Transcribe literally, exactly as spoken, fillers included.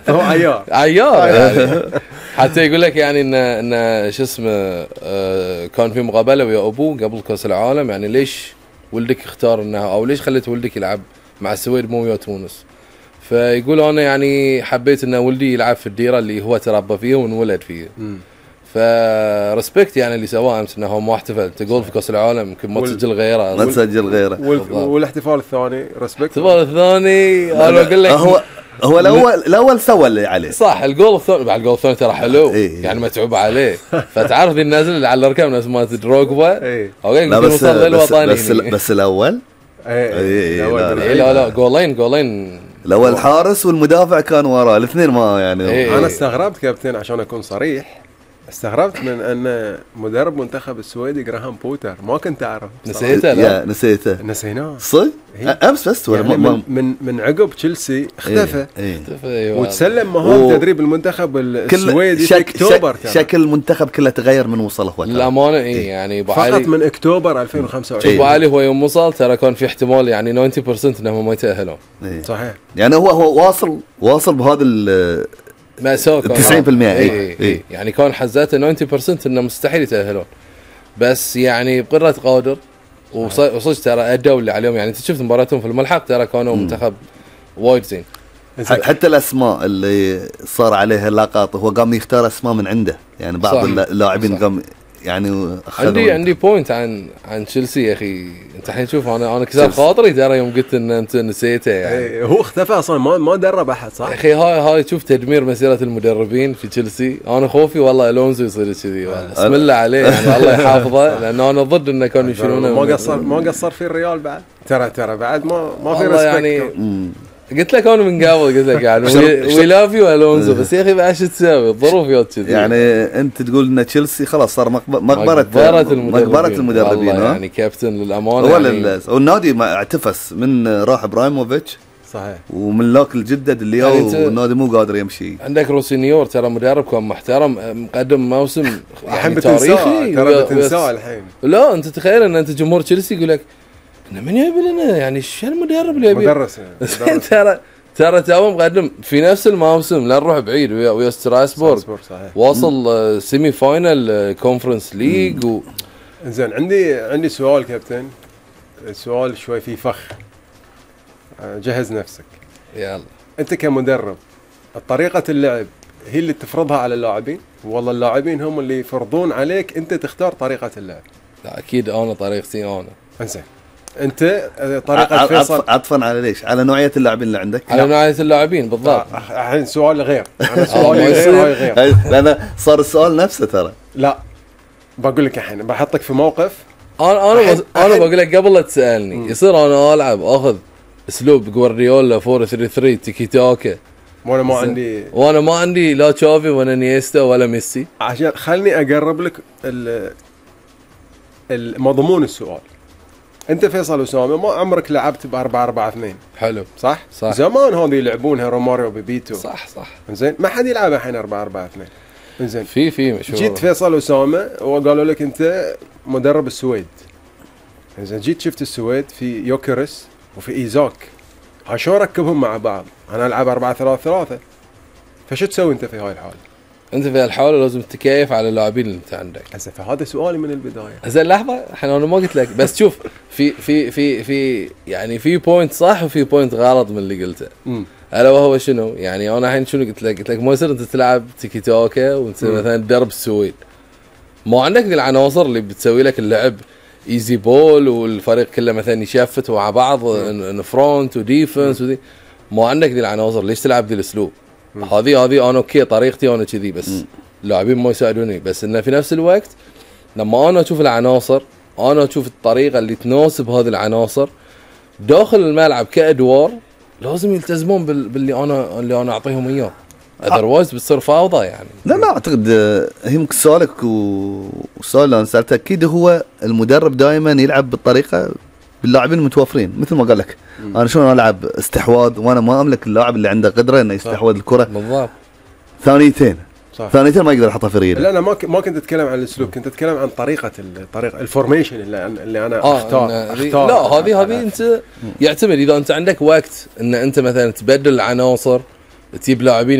هو عيار عيار يعني. حتى يقول لك يعني ان ان شو اسمه آه كان في مقابله ويا ابوه قبل كاس العالم، يعني ليش ولدك اختار انه او ليش خليت ولدك يلعب مع السويد مو ويا تونس؟ فيقول انا يعني حبيت ان ولدي يلعب في الديره اللي هو تربى فيها وانولد فيها. فرسبكت يعني اللي سواه امس انه هو ما احتفل. تقول في كاس العالم يمكن ما تسجل غيره، ما تسجل غيره. والاحتفال الثاني رسبكت. الاحتفال الثاني انا اقول لك هو هو الاول الاول سوى اللي عليه صح. الجول الثاني بعد الجول الثاني ترى حلو إيه. يعني متعوب عليه. فتعرف النازل اللي على الاركان ناس ما دروجبا إيه. اوكي لا بس للوطني بس, بس, بس الاول ايه إيه لا لا, لا, لا جولين جولين الاول الحارس والمدافع كان وراه الاثنين ما يعني إيه. انا استغربت كابتن عشان اكون صريح، استغربت من ان مدرب منتخب السويدي جراهام بوتر ما كنت اعرف. نسيته لا نسيته نسيناه صدق امس بس ولا يعني من, من من عقب تشيلسي اختفى ايه. ايه. وتسلم مهام تدريب المنتخب السويدي في اكتوبر. شكل المنتخب كله تغير من وصله هو للامانه ايه يعني فقط من اكتوبر ألفين وخمسة وعشرين. ابو علي هو يوم وصل ترى كان في احتمال يعني تسعين بالمئة انهم ما يتاهلون. ايه. صحيح يعني هو هو واصل واصل بهذا ال مأساة تسعين بالمئة اي اي اي يعني كان حزاته تسعين بالمئة انه مستحيل يتاهلون، بس يعني بقدرة قادر وصدق ترى ادوا اللي عليهم. يعني انت شفت مباراتهم في الملحق ترى كانوا منتخب وايد زين. حتى الاسماء اللي صار عليها لقطه هو قام يختار اسماء من عنده، يعني بعض اللاعبين قام يعني عندي عندي بوينت عن عن تشيلسي يا اخي. انت الحين شوف انا انا كسر خاطري ترى يوم قلت ان انت نسيته يعني. هو اختفى اصلا ما ما درب احد صح يا اخي. هاي هاي تشوف تدمير مسيره المدربين في تشيلسي. انا خوفي والله الونزو يصير كذي والله بسم الله عليه يعني الله يحافظه، لانه انا ضد انه كانوا يشيلونه. ما قصر ما قصر في الريال بعد ترى ترى بعد ما ما في ريسبكت يعني. قلت لك انا من قبل قلت لك يعني وي لاف يو الونزو، بس يا اخي بعد شو تسوي الظروف يوت كذي. يعني انت تقول ان تشيلسي خلاص صار مقبره مقبره المدربين, مقبرة المدربين يعني كابتن للامانه هو يعني والنادي ما اعتفس من راح ابراهيموفيتش صحيح ومن لوك الجدد اللي يعني والنادي مو قادر يمشي. عندك روسينيور ترى مدرب كان محترم مقدم موسم يعني تاريخي ترى بتنساه الحين. لا انت تخيل ان انت جمهور تشيلسي يقول لك من يبي لنا يعني شو المدرب اللي يبي مدرس يعني ترى ترى تو مقدم في نفس الموسم. لا نروح بعيد ويا ويا ستراسبورغ واصل سيمي فاينل كونفرنس ليج و... زين عندي عندي سؤال كابتن، سؤال شوي فيه فخ، جهز نفسك. يلا انت كمدرب طريقة اللعب هي اللي تفرضها على اللاعبين والله اللاعبين هم اللي يفرضون عليك انت تختار طريقة اللعب؟ لا اكيد انا طريقتي انا. انزين انت طريقه فيصل عطفا على ليش على نوعيه اللاعبين اللي عندك على نوعيه اللاعبين بالضبط. الحين سؤال غير انا سؤالي غير هاي غير لان صار السؤال نفسه ترى. لا بقول لك الحين بحطك في موقف. انا انا انا بقول لك قبل لا تسالني يصير انا العب اخذ اسلوب جوارديولا أربعة ثلاثة ثلاثة تيكي تاكا وانا ما عندي وانا ما عندي لا تشافي ولا نيستا ولا ميسي. عشان خلني اقرب لك المضمون السؤال. انت فيصل أسامة ما عمرك لعبت بأربعة أربعة اثنين حلو صح؟ صح. زمان هذي يلعبونها روماريو ببيتو صح صح. زين ما حد يلعبها الحين أربعة أربعة اثنين. زين في في مشهور. جيت فيصل أسامة وقالوا لك انت مدرب السويد. زين جيت شفت السويد في يوكرس وفي ايزاك عشان ركبهم مع بعض. انا العب أربعة ثلاثة ثلاثة. فشو تسوي انت في هاي الحاله؟ انت في الحاله لازم تكيف على اللاعبين اللي انت عندك. هسه فهذا سؤالي من البدايه. زين لحظه الحين انا ما قلت لك بس شوف في في في في يعني في بوينت صح وفي بوينت غلط من اللي قلته. امم الا وهو شنو يعني انا الحين شنو قلت لك؟ قلت لك ما يصير انت تلعب تيكي توكا وانت مثلا تدرب السويد ما عندك العناصر اللي بتسوي لك اللعب ايزي بول والفريق كله مثلا يشفت مع بعض ان فرونت وديفنس ودي ما عندك ذي العناصر. ليش تلعب ذي الاسلوب؟ هذه هذه انا اوكي طريقتي انا كذي بس اللاعبين ما يساعدوني. بس انه في نفس الوقت لما انا اشوف العناصر انا اشوف الطريقه اللي تناسب هذه العناصر داخل الملعب كادوار لازم يلتزمون باللي انا اللي انا اعطيهم اياه. اذروايز بتصير فوضى يعني. لا لا اعتقد هي ممكن سؤالك وسؤال اللي انا سالته اكيد هو المدرب دائما يلعب بالطريقه باللاعبين المتوفرين مثل ما قال لك. مم. انا شلون العب استحواذ وانا ما املك اللاعب اللي عنده قدره انه يستحوذ الكره بالضبط. ثانيتين صح. ثانيتين ما يقدر يحطها في ريله. لا انا ما ك... ما كنت اتكلم عن الاسلوب كنت اتكلم عن طريقه الطريقه الفورميشن اللي, اللي انا آه اختار, أختار لا هذه هذه انت يعتمد اذا انت عندك وقت ان انت مثلا تبدل العناصر تجيب لاعبين